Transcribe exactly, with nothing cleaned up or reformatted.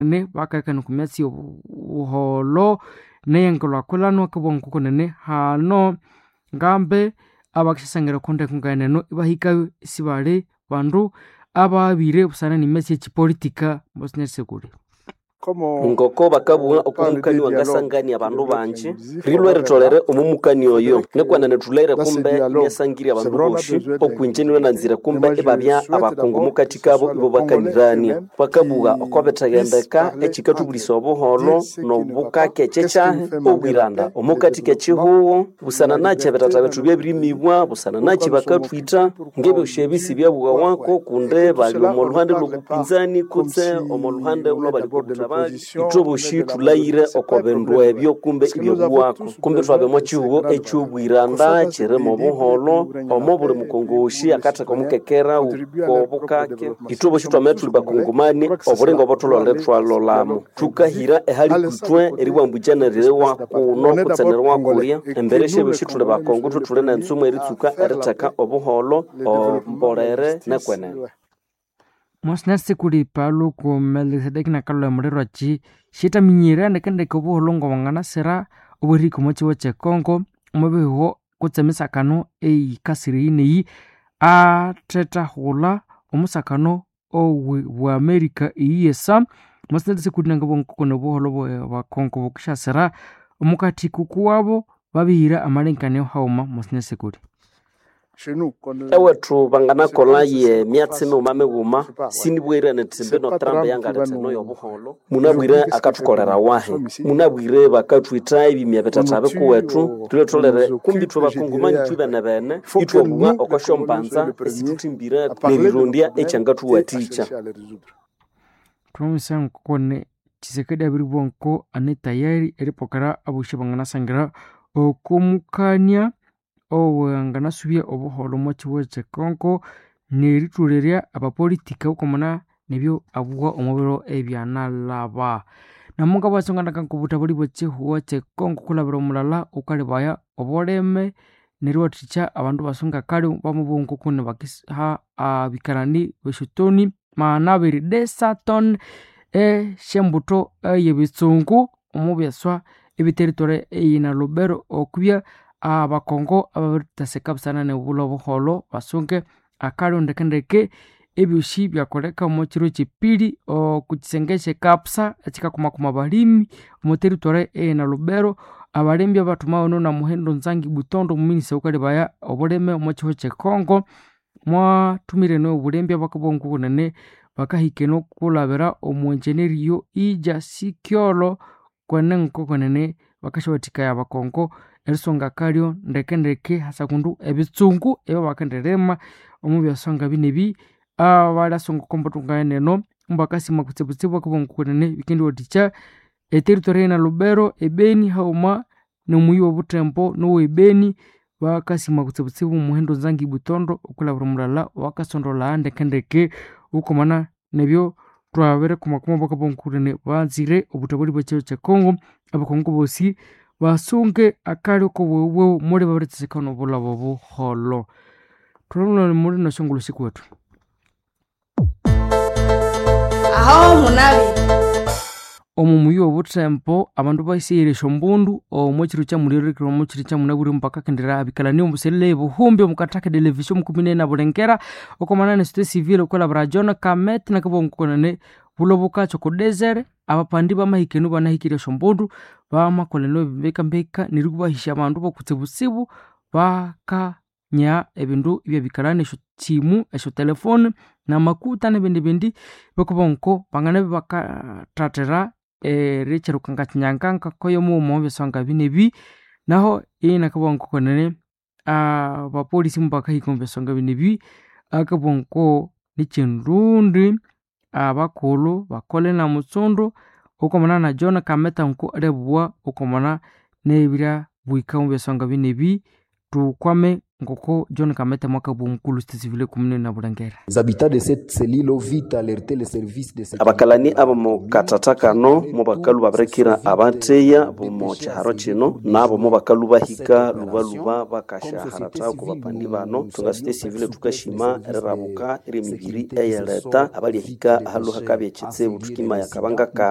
Nkonene bakahikana oku myatsi y'obuholho neyenkulhakulhana akabugha nkokunene hano ngambe abakisyasangira oko ndeko ngeneno ibahikayo isibali bandu ababire busana n'emyatsi y'ekipolitika mbosinyerisekuli. Ngoko bakabugha oku mukani wangasangania abandu bangi rilwe ritholere omo mukani oyo nikwenene thulere kumbe inasangirya abandu bosi okwinje inanzire kumbe ibabya abakungu mukati kabo ibo bakanirania bakabugha oko bithendeka ekikathubulisa obuholho nobukake kyekyahi obwiranda omukati kekihugho busana nakyi ebitata bethu byabirimibwa busana nakyi bakathwitha ngebyosi ebi sibyabugha kundi bali omo luhande lwobupinzani kutse omo luhande olwabali kobuthabali ithwe bosi thulhaghire oko bindu ebyo kumbe ibyabuwako kumbe thwabya omo kihugho ekyobwiranda kyirimo obuholho omo buli mukongosi akatheka omukekera wokobukake ithwe bosi twamabya thuli bakongomani obulinga obutholere thwalolamo thukahira ehali kwithwe eribwambukya neririwa kuno kutse neririwa kulya embere syebyosi thuli bakongo ithwe thuli nentsumu eritsuka eritheka obuholho ombolere nekwenene. Mwasinasikuli paluku Melkisedeki nakalhwa emuliro akyi syithaminyire ndekendeke obuholho ngobwanganasira obwerihika omo kihugho kye Congo omwabihugho kutse emisakano eyikasire eyi neyi athethaghulha omusakano owe bwa America eyiyesa. Mwasinasikuli nangabugha ngokune obuholho bwa Congo bukisyasira omukathi kukuwabo babihira amalengekanio haghuma mwasinasikuli. Ewethu banganakolha ye myatsi mighuma mighuma sinibwire nithi mbino Trump yangaletha eno yobuholho munabwire akathukolera wahi munabwire bakathwitha ebimya bithatha bikuwethu thulhetholere kumbi ithwe bakongomani ithwe benebene ithwabugha oko syombanza esithuthimbire nerirondya ekyangathuwathikya. Thwamabisaya ngokone Tshisekedi abiribugha ngoko ane tayari eripokera abosi abanganasangira okomukania owanganasubya obuholho omo kihugho kye Congo nerithulerya abapolitika wukamana nebyo abugha omo biro ebyanalhaba. Namungabugha nganaka ngobuthabali bwe kihugho kye Congo kulhabira omulala wukalebaya obulime neriwathikya abandu basunga kale bamabugha ngokune bakiha abikalani besyotoni magana abiri desaton esyambutho eyebitsungu omo byaswa ebiteritory eyina Lubero okubya abakongo ababiriteseka busana neribulha obuholho basunge akalyo ndekendeke ebyosi byakoleka omo kiro kyepiri oku kisenge kyekapsa ekyikakumakuma abalimi omo territory eyina Lubero abalimi abathumawa na Muhindo Nzangi Butondo omuminista wukalebaya obulime omo kihugho kye Congo mwathumire nobulembi abakabugha ngokunene bakahika eno kulhabira omu engineer Ija Sikyolo kwene ngokunene bakasyawathikaya abakongo erisonga akalyo ndekendeke hasakundu ebitsungu ebyabakendirima omo byaswa ngabinebi abalyasunga okombuthu ngayeneno mbakasima kutsibutsibu bakabugha ngokunene bikendiwathikya eteritory eyina Lubero, ebeni haghuma nomuyi wobuthembo nowe Beni bakasima kutsibutsibu Muhindo Nzangi Butondo okulhabira omulala owakasondolha ndekendeke wukamana nebyo thwabirikumakuma bakabugha ngokunene banzire obuthabali bwe kihugho kye Congo abakongo bosi basunge akalyo kobughe muli babiritheseka nobulhaba obuholho. Thulholere muli nosyongulho sikuwethu. Aho munabire Omo muyi wobuthembo abandu basighere esyombundu omo kiro kyamulirikira omo kiro kyamunabwire bakakendera abikalani omuselele ebuhumbi omukathaka television mukumi nene bulengera okomana ne société civile okwilhabira John Kamet nakabugha ngokunene bulo bukakya oko desert abapandi bamahika eno banahikire esyombundu bamakolha embikambika neryo ibahisya abandu bokutsibutsibu bakanya ebindu ebyabikalani esyosimu, esyotelefone namakuta nebindi bindi bakabugha ngo banganabya bakathathira erikyirukanga kinyanganka koyomughuma omo byaswa ngabinebi naho inakabugha ngokunene abapolisi mubakahika omo byaswa ngabinebi akabugha ngo nikyindundi abakulhu bakole namutsundu wukamana na John Kameta ngoko alyabugha wukamana nebiryabuhika omo byaswa ngabinebi thukwame Ngoko John Kamete mwaka bwomukulu site civile kumune na Bulengera. Les habitants de cette cellule ont vite alerté les services de sécurité. Abakalani abo katata kano mu bakalu babirekera abateya bomo kyiharo kino nabo mu bakalu bahika lubaluba bakashaharata ku bapandi bano tunga site civile tukashima erirabuka eri emibiri eyeleta abalyahika ahalu hakabya ekitsibu tukima yakabanga kano.